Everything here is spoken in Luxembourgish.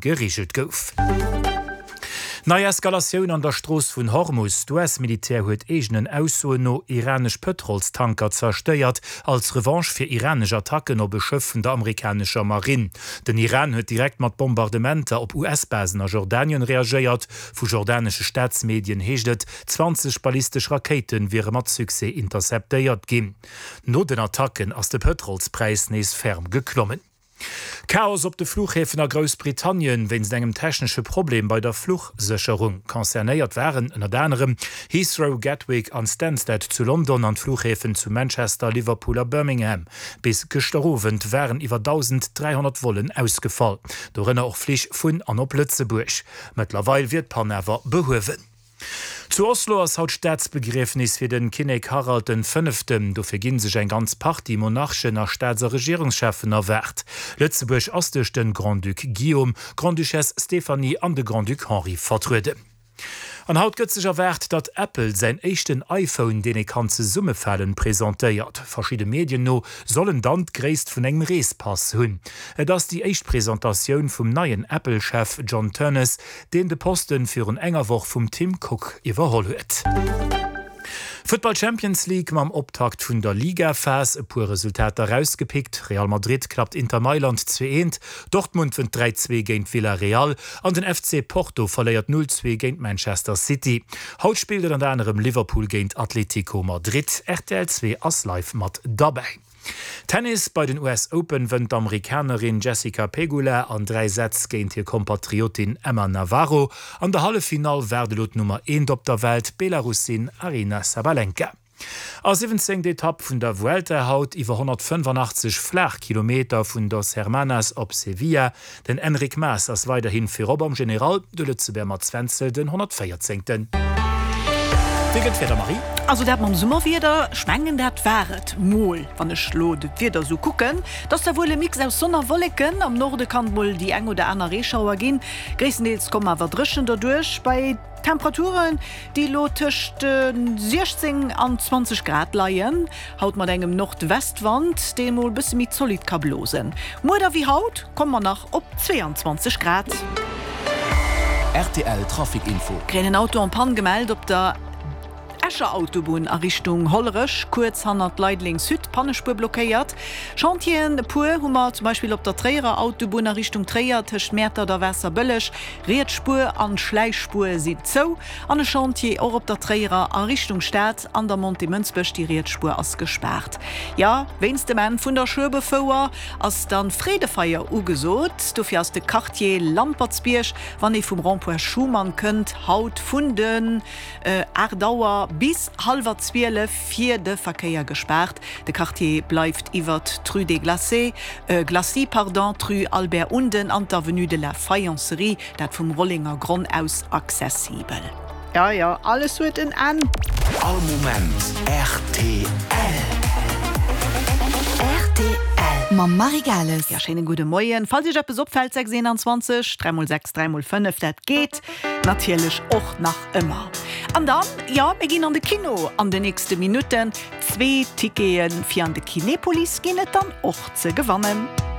gereegelt gouf. Nei Eskalatioun an der Strooss vun Hormus, D'US-Militär huet eegenen Aussoen no iranesch Pëtrolstanker zerstéiert, als Revanche fir iranesch Attacken op e Schëff vun der amerikanescher Marinn. Den Iran huet direkt mat Bombardementer op US-Basen a Jordanien reagéiert. Vu jordanesche Staatsmedien heescht et, 20 ballistesch Rakéite wiere mat Succès interceptéiert ginn. No den Attacken ass de Pëtrolspräis nees ferm geklommen. Chaos op de Fluchhäfen a Groussbritannien wéinst engem technesche Problem bei der Fluchsécherung. Concernéiert waren ënnert anerem Heathrow, Gatwick an Stansted zu London an d'Fluchhäfen zu Manchester, Liverpool a Birmingham. Bis gëschter Owend waren iwwer 1.300 Vollen ausgefall, dorënner och Flich vun an op Lëtzebuerg. Mëttlerweil wier d'Pann awer behuewen. Zu Oslo ass haut Staatsbegriefnis fir den Kinnek Harald den Fënneften. Dofir ginn sech eng ganz Partie Monarchen a Staats a Regierungscheffen erwaart. Lëtzebuerg ass duerch den Grand-Duc Guillaume, Grande-Duchesse Stéphanie an de Grand-Duc Henri vertrueden. An haut gëtt sech erwaart, datt Apple säin éischten iPhone, deen ee kann zesummefalen, presentéiert. Verschidde Medien no soll en dann d'Gréisst vun engem Reespass hunn. Et ass déi éischt Presentatioun vum neien Apple-Chef John Ternus, deen de Posten virun enger Woch vum Tim Cook iwwerholl huet. Futtball Champions League, Mam Optakt vun der Ligaphas e puer Resultater erausgepickt, Real Madrid klappt Inter Mailand 2, 1, Dortmund wënnt 3, 2 géint Villarreal an den FC Porto verléiert 0, 2 géint Manchester City. Haut spillt ënnert anerem Liverpool géint Atletico Madrid. Rtl 2 ass live mat derbäi. Tennis, Bei den US Open wënnt d'Amerikanerin Jessica Pegula an 3 Sätz géint hir Kompatriotin Emma Navarro. An der Halleffinall waart elo d'Nummer eent op der Welt, d'Belarussin Aryna Sabalenka. A 17. Etapp vun der Vuelta haut, iwwer 185 Flaachkilometer vun Dos Hermanas op Sevilla. Den Enric Mas ass weiderhi virop am General, de Lëtzebuerger Mats Wenzel den 114. Wéi gëtt d'Wieder, Marie? Also dat mam Summerwieder, ech mengen dat war et mol. Wann ech lo d'Wieder sou kucken, et ass da wuel e Mix aus Sonn a Wolleken. Am Norde kann et mol déi eng oder aner Reeschauer ginn, gréisstendeels komm awer dréchen derduerch. Bei Temperaturen, déi elo tëscht 16 an 20 Grad leien, haut mat engem Nordwestwand, dee mol bësse méi zolidd ka blosen. Muer da wéi haut komme mer nach op 22 Grad. Rtl Trafic Info. Kréien en Auto en panne gemellt op der Escher Autobunn a Richtung Hollerech, kuerz hannert Leideleng Sud, Pannespuer blockéiert. Chantieren, e puer hu mer zum Beispill op der Tréierer Autobunn a Richtung Tréier tëscht Mäertert a Waasserbëlleg, Riets Spuer an Schläichspuer sinn zou an e Chantier och op der Tréierer a Richtung Stad an der Montée Mënsbech, déi riets Spuer ass gespaart. Jo, wéinst dem Enn vun der Schueberfouer ass dann Freedefeier ugesot. Dofir ass de Quartier Lampertsbierg, wann ee vum Rond-point Schuman kënnt, haut vun den 8 Auer bis hallwer 12 fir de Verkéier gespaart. De Quartier bleift iwwert d'Rue des Glacés, Glacis, pardon, d'Rue Albert Unden an d'Avenue de la Faïencerie, dat vum Rollenger Gronn aus, accessibel. Jo, jo, alles huet en Enn. All Moment rtl. Rtl mam Marie Gales. Jo, schéine gudde Moien. Falls Iech eppes opfält, 6 21 3 mol 6 3 mol 5, dat geet natierlech och nach ëmmer. An dann, jo, mir ginn an de Kino an de nächste Minutten. Zwee Tickete fir an de Kinepolis ginn et dann och ze gewannen.